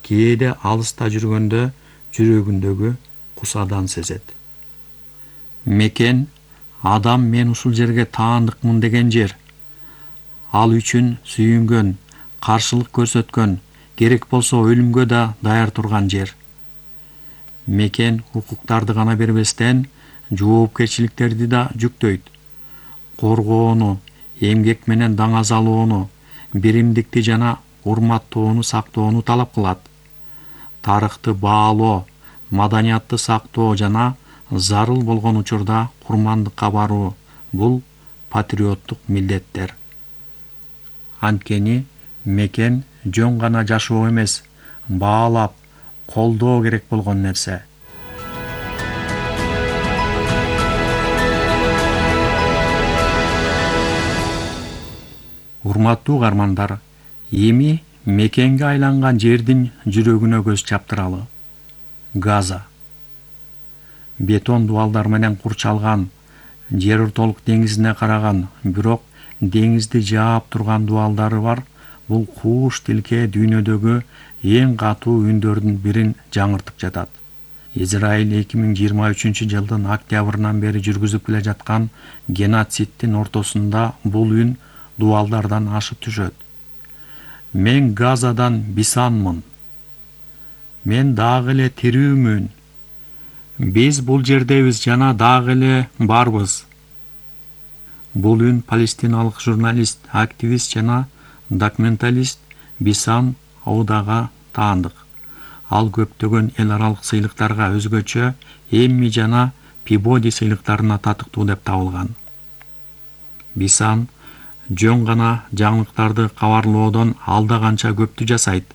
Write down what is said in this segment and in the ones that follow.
кээде алыста жүргөндө жүрөгүндөгү кусадан сезет. Мекен адам мен ушул жерге таандыкмын деген жер. Ал үчүн сүйүнгөн, каршылык көрсөткөн, керек болсо өлүмгө да даяр турган жер. Мекен укуктарды гана бербестен, жоопкерчиликтерди да жүктөйт. Коргоону, эмгек менен даңаз алууну, биримдикти жана урматтоону сактоону талап кылат. Тарыхты баалоо, маданиятты сактоо жана зарыл болгон учурда курмандыкка баруу — бул патриоттук милдеттер. Анткени мекен жөн гана жашоо эмес, баалап, колдоо керек болгон нерсе. Урматтуу угармандар, эми мекенге айланган жердин жүрөгүнө көз чаптыралы. Газа. Бетон дубалдар менен курчалган, жер ортолук деңизине караган, бирок деңизди жаап турган дубалдары бар. Бул кууш тилке дүйнөдөгү эң катуу үндөрдүн бирин жаңыртып жатат. Израиль 2023-жылдын октябрынан бери жүргүзүп келе жаткан геноциддин ортосунда бул үн дубалдардан ашып түшөт. Мен Газадан бисанмын. Мен дагы эле тирүүмүн. Биз бул жердебиз жана дагы эле барбыз. Бул үн палестиналык журналист, активист жана документалист Бисан Аудага таандык. Ал көптөгөн эл аралык сыйлыктарга, өзгөчө Эмми жана Пибоди сыйлыктарына татыктуу деп табылган. Бисан жөн гана жаңылыктарды кабарлоодон алда канча көптү жасайт.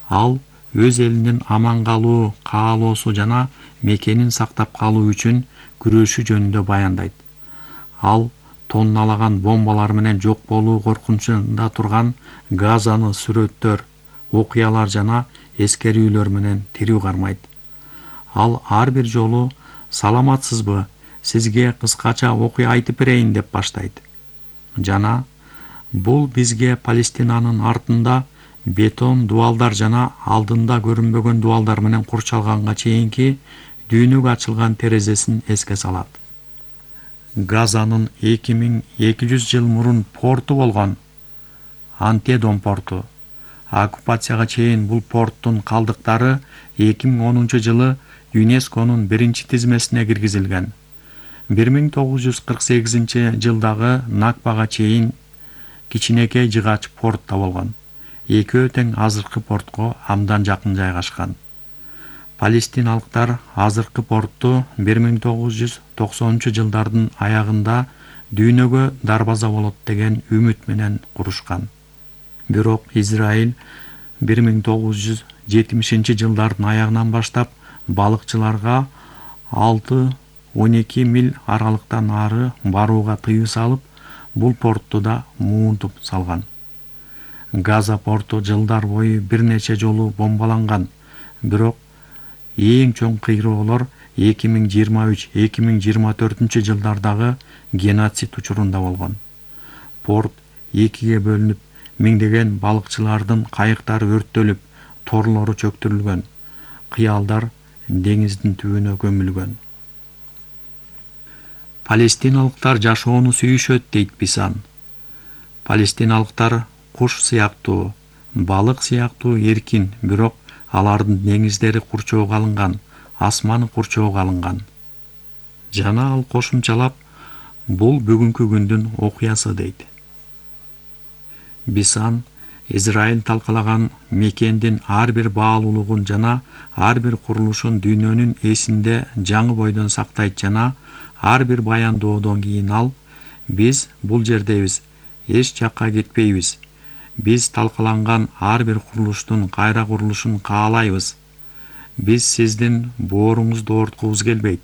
Ал өз элинин аман калуу каалоосу жана мекенин сактап калуу үчүн күрөшү жөнүндө баяндайт. Ал тонналаган бомбалар менен жок болуу коркунучунда турган Газаны сүрөттөр, окуялар жана эскерүүлөр менен тирүү кармайт. Ал ар бир жолу «Саламатсызбы? Сизге кыскача окуя айтып берейин» деп баштайт. Жана бул бизге Палестинанын артында бетон дубалдар жана алдында көрүнбөгөн дубалдар менен курчалганга чейинки дүйнөгө ачылган терезесин эске салат. Газанын 2200 жыл мурун порту болгон, Антедон порту. Оккупацияга чейин бул порттун калдыктары 2010 жылы ЮНЕСКОнун биринчи тизмесине киргизилген. 1948 жылдагы Накбага чейин кичинекей жыгач портто болгон. Экөө тең азыркы портко абдан жакын жайгашкан. Палестиналыктар азыркы порту 1990 жылдардын аягында дүйнөгө дарбаза болот деген үмүт менен курушкан. Бирок Израиль 1970 жылдардын аягынан баштап балыкчыларга 6-12 миль аралыктан ары барууга тыюу салып, бул порту да муунтуп салган. Газа порту жылдар бою бир нече жолу бомбаланган, бирок эң чоң кыйроолор 2023-2024 жылдардагы геноцид учурунда болгон. Порт экиге бөлүнүп, миңдеген балыкчылардын кайыктары өрттөлүп, торлору чөктүрүлгөн, кыялдар деңиздин түбүнө көмүлгөн. Палестиналыктар жашоону сүйүшөт дейт Бисан. Палестиналыктар куш сыяктуу, балык сыяктуу эркин, бирок алардын деңиздери курчоого алынган, асманы курчоого алынган. Жана ал кошумчалап, бул бүгүнкү күндүн окуясы дейт. Бисан Израиль талкалаган мекендин ар бир баалуулугун жана ар бир курулушун дүйнөнүн эсинде жаңы бойдон сактайт жана ар бир баяндоодон кийин ал: биз бул жердебиз, эч жакка кетпейбиз. Биз талкаланган ар бир курулуштун кайра курулушун каалайбыз. Биз сиздин бооруңузду оорткубуз келбейт.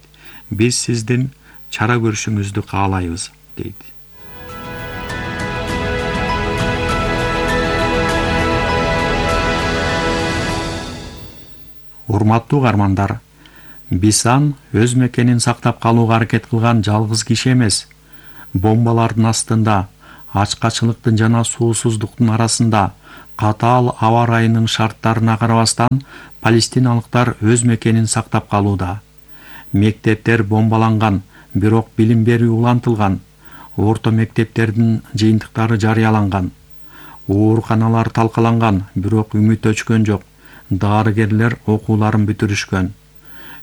Биз сиздин чара көрүшүңүздү каалайбыз, дейт. Урматтуу угармандар, Бисан өз мекенин сактап калууга аракет кылган жалгыз киши эмес. Бомбалардын астында, ачкачылыктын жана суусуздуктун арасында, катаал аба ырайынын шарттарына карабастан палестиналыктар өз мекенин сактап калууда. Мектептер бомбаланган, бирок билим берүү улантылган. Орто мектептердин жыйынтыктары жарыяланган. Ооруканалар талкаланган, бирок үмүт өчкөн жок. Дарыгерлер окууларын бүтүрүшкөн.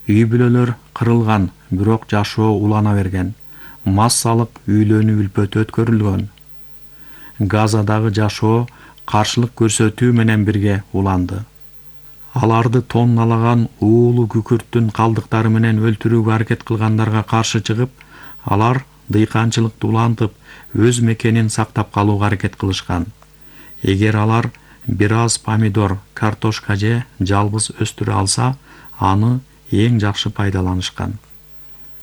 Үй-бүлөлөр кырылган, бирок жашоо улана берген. Массалык үйлөнүү үлпөтү өткөрүлгөн. Газадагы жашоо каршылык көрсөтүү менен бирге уланды. Аларды тонналаган уулуу күкүрттүн калдыктары менен өлтүрүүгө аракет кылгандарга каршы чыгып, алар дыйканчылыкты улантып, өз мекенин сактап калууга аракет кылышкан. Эгер алар бир аз помидор, картошка же жалбыз өстүрө алса, аны эң жакшы пайдаланышкан.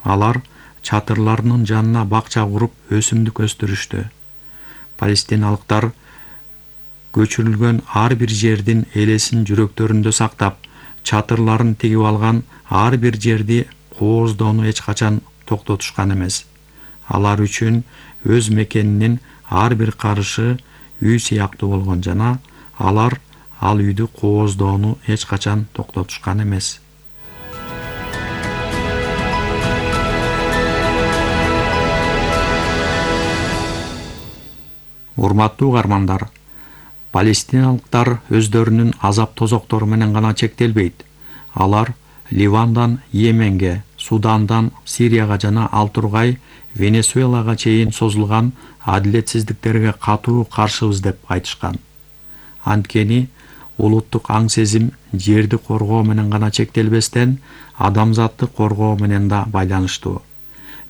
Алар чатырларынын жанына бакча куруп, өсүмдүк өстүрүштү. Палестиналыктар көчүрүлгөн ар бир жердин элесин жүрөктөрүндө сактап, чатырларын тигип алган ар бир жерди кооздоону эч качан токтотушкан эмес. Алар үчүн өз мекенинин ар бир карышы үй сыяктуу болгон жана алар ал үйдү кооздоону эч качан токтотушкан эмес. Урматтуу угармандар, палестиналыктар өздөрүнүн азап тозоктору менен гана чектелбейт. Алар Ливандан Йеменге, Судандан Сирияга жана ал тургай Венесуэлага чейин созулган адилетсиздиктерге катуу каршыбыз деп айтышкан. Анткени улуттук аң сезим жерди коргоо менен гана чектелбестен, адамзатты коргоо менен да байланыштуу.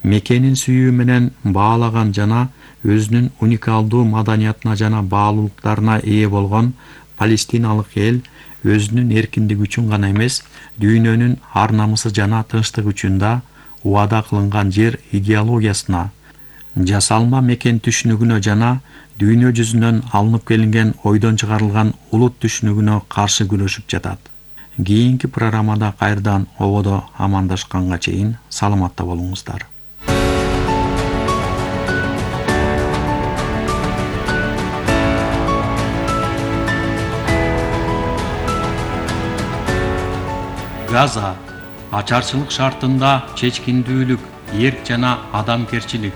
Мекенин сүйүү менен баалаган жана өзүнүн уникалдуу маданиятына жана баалуулуктарына ээ болгон палестиналык эл өзүнүн эркиндиги үчүн гана эмес, дүйнөнүн ар намысы жана тынчтыгы үчүн да убада кылынган жер идеологиясына, жасалма мекен түшүнүгүнө жана дүйнө жүзүнөн алынып келинген ойдон чыгарылган улут түшүнүгүнө каршы күрөшүп жатат. Кийинки программада кайрадан ободо амандашканга чейин саламатта болуңуздар. Газа ачарчылык шартында чечкиндүүлүк, эрк жана адамгерчилик